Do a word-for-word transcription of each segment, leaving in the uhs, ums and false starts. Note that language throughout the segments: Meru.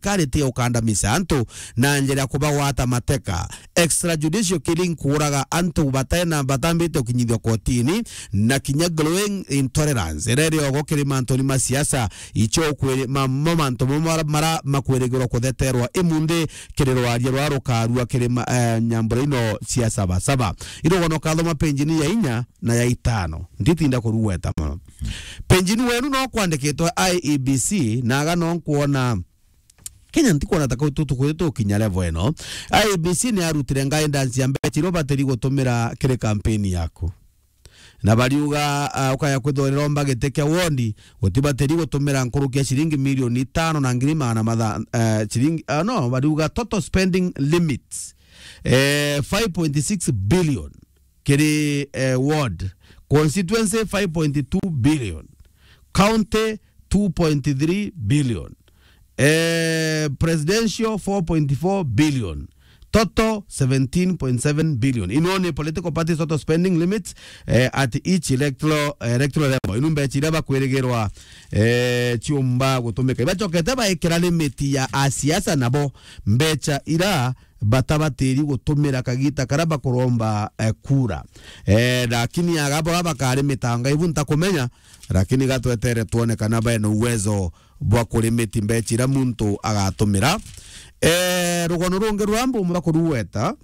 thirikari ti ukandamiza antu na njira ya kubagwata mateka, extrajudicial killing, kuuraga antu batena batambite ukinyithio kotini, na kinya growing intolerance iria iri ogo kiri mantuni ma siasa, icio kwiri ma, mo mantu mo mara, mara makwirigirwa kutheterwa imunthi kiri rwaria rwa rukarua kiri ma, eh, nyambura ino cia Saba Saba. Irugono kathoma penjini ya inya na ya itano. Nditinda kurugweta mono. Penjini wenu no kwandikitwe I E B C, na aga no nkwona Kenya ntikwona ta kau tutukwiri tukinya level ino. I E B C ni arutire guidance ya mbeca iria ubatiri gutumira kiri campaign yaku. Na bariuga, ah, ukaya kwithirwa uromba giti kia ward, utibatiri gutumira nkuruki ya ciringi milioni itano na ngiri magana matha-, eh, ciringi, ah, no, bariuga total spending limits, eh, five point six billion kiri, eh, ward, constituency five point two billion, county two point three billion, eh, presidential four point four billion, total seventeen point seven billion. Ino ni political parties total spending limits, eh, at each electoral, electoral level. Inu mbeca iria bakwirigirwa, eh, ciumba gutumika. Ibacokete baikira limit ya asiasa nabo mbeca ira batabatiri gutumira kagita karia bakuromba, eh, kura. Eh, lakini aga bora bakari mitanga ibu ntakumenya, lakini gatwetere twone kana bena uwezo bwa kurimiti mbeca iria muntu agatumira. Eh, rugono rungi rwa mbumu bakuruweta,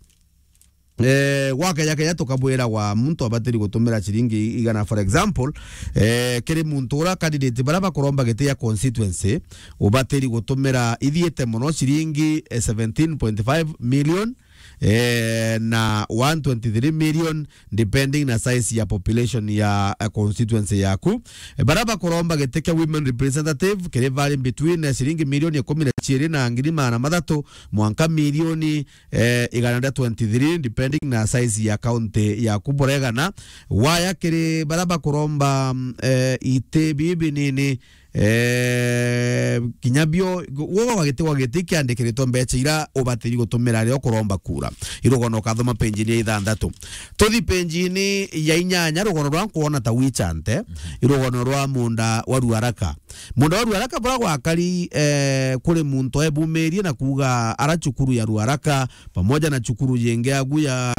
eh, gwakeja keja tukabwiragwa muntu abatiri gutumira ciringi igana, for example, eh, kiri muntu ura candidate bara bakuromba giti ya constituency, ubatiri gutumira ithiite mono ciringi, eh, seventeen point five million, eh, na one twenty-three million, depending na size ya population ya, eh, constituency yaku. Eh, bara bakuromba giti kia women representative kiri vari between, eh, ciringi milioni ikumi na ciiri na ngiri magana mathatu mwanka milioni, eh, igana ria twenty-three, depending na size ya county yaku buregana. Waya kiri bara bakuromba, mm, eh, iti bibi nini, eh, kinya bio, gwa giti, gwa giti kiandikiritwe mbeca ira ubatiri gutumira riria ukuromba kura. Irugono ukathoma penjini ya ithanthatu. Tuthi penjini ya inyanya, rugono rwa nkwona ta wichante, irugono rwa munda wa Ruaraka. Munda wa Ruaraka bura gwakari, eh, kuri muntu ebumirie na kuuga ara cukuru ya Ruaraka pamoja na cukuru jingi agu ya,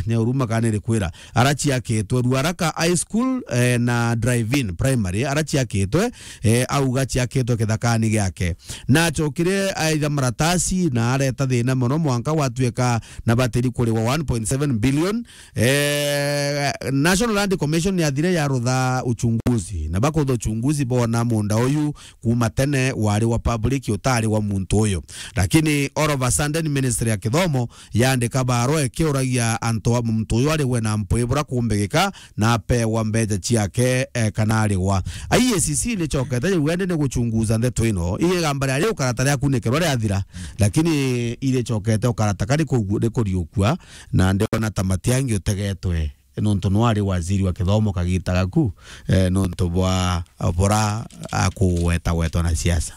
ni uruma kana irikwira, ara ciakitwe Ruaraka High School, eh, na Drive-In Primary, ara ciakitwe, eh, auga ciakitwe kithakani giake. Na acokire aitha maratasi na areta thina mono mwanka gwatuika na batiri kuriwa one point seven billion. Eh, National Land Commission yathire yarutha uchunguzi, na bakurutha uchunguzi bona munda uyu kuma tene wari wa public, utari wa muntu uyu. Lakini all of a sudden, Ministry ya Kithomo yaandika barua ikiuragia antu a muntu uyu arigwe na mpwi bura kumbigika na apewa mbeca ciake, eh, kana arigwa. I E A C C ni cokete riu ende ni guchunguza ndeto ino. Igamba ria riu karata ria kunikirwa riathira, lakini iri cokete ukarata kari kugu-, ri kuriukua, na ndiona ta matiangi utegetwe. Nontu nwari waziri wa kithomo kagita gaku, eh, nontu bwa bura akugwetagwetwa na siasa.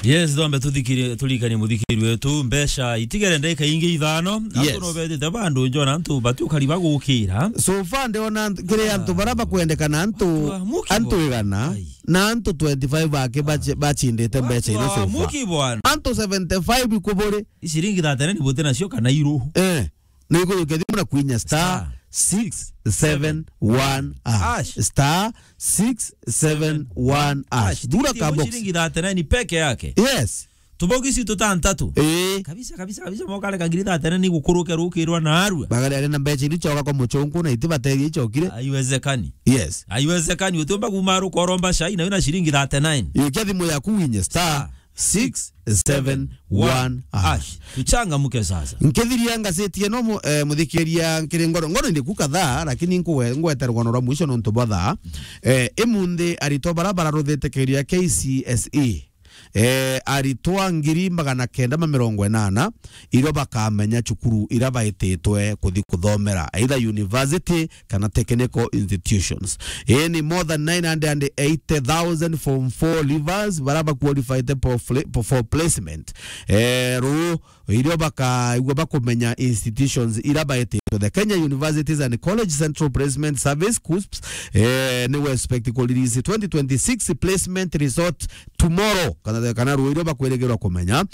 Yes, thombe tuthikiri-, turirikanie muthikiri wetu, mbeca itigere ndagika ingi ithano, antu Yes. no betite bandu njona antu batiukari bagukira. So far ndiona ant-, kiri antu bara bakwendekana antu, Antu a muki antu bwana. Igana, Ai. na antu twenty-five aki bachi-, bachindite mbeca Watu ino wa so far. Muki bwana. Antu seventy-five ikuburi. Ciringi thirty-nine buti nacio kana iruhu. Eh. Ni kujukia thimu na kuinya star six seven one hash. Hash. Star six seven one hash. Hash. Thura Tikiti imwe kabox. Ciringi thirty-nine peke yake. Yes. Tubogisi tutantatu. Eh. Kabisa, kabisa, kabisa, mokare kangiri thirty-nine ni gukuruke rukirwa na arua. Bagari ari na mbeca iri choka kwa muchungu na iti bateri ichokire. Haiwezekani. Yes. Haiwezekani, utiumba kuma rukoromba shai na wina ciringi thirty-nine. Ikia thimu yaku winye star six seven one hash. Tuchangamuke sasa. Nkithiria ngaciti ino mu-, eh, muthikiria nkiri ngoro. Ngoro ndi ku kadhaa, lakini nkugwe-, ngwete rugono rwa mwisho nontu bwa thaa. Eh, imunthi aritwa bara bararuthite kigerio ya K C S E. Eh, aritwa ngiri magana kenda ma mirongo inana irio bakamenya cukuru ira baititwe kuthi kuthomera, either university kana technical institutions. Ii ni more than nine hundred and eighty thousand form four leavers bara ba qualified for fle-, for placement. Eh, ruu irio bakaigua bakumenya institutions ira baititwe the Kenya Universities and College Central Placement Service, KUCCPS, eh, ni we expect ku release twenty twenty-six placement result tomorrow, kana, kana ruuju bakwirigirwa kumenya.